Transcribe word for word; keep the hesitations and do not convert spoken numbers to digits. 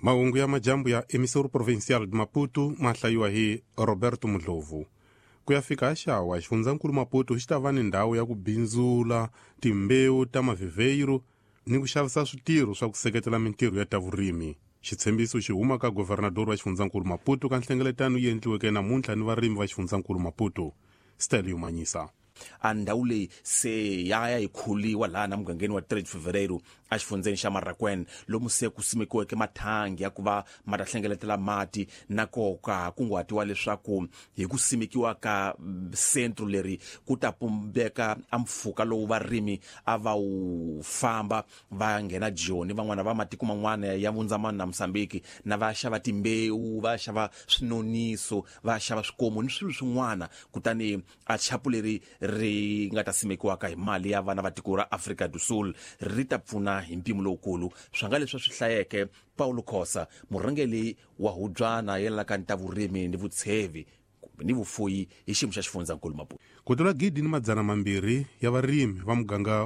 Mahungu ya majambu ya Emissora Provincial de Maputo ma hlayiwa hi Roberto Mudlovu. Ku ya fika xawa xifundzankulu Maputo xi ta va ni ndhawu ya ku bindzula timbewu ta mavhevheiro ni ku xavisa switirho swa ku seketela mintirho ya ta vurimi. Xitshembiso xi huma ka governador wa xifundzankulu Maputo ka nhlengeletano yi endliweke namuntlha ni varimi va xifundzankulu Maputo. Stelio Manyisa. A ndhawu leyi se ya ya yi khuliwa laha na mugangeni wa três de Fevereiro exifundzeni xa Marracuene, lomu se ku simekiweke mathangi ya ku va ma ta hlengeletela mati. Na koka kunguhatiwa leswaku hi ku simekiwa ka sentro leri ku ta pumbeka a mpfhuka lowu varimi a va wu famba va nghena Joni, van'wana va matiko man'wana ya Vundzamani na Mozambique, na va xava timbewu, va xava swinoniso, va xava swikomu ni swilo swin'wana. Kutani a chapu leri ri nga ta simekiwaka hi mali ya vana va tiko ra Afrika do Sul ri ta pfuna hi mpimo lowukulu. Swa nga leswi swi hlayeke Paulo Khosa, murhangeri wa hubyana yelanaka ni ta vurimi ni vutshevi ni vufuyi hi xiyimo xa xifundzankulu Maputo. Ku tlula gidi ni madzana mambirhi ya varimi va muganga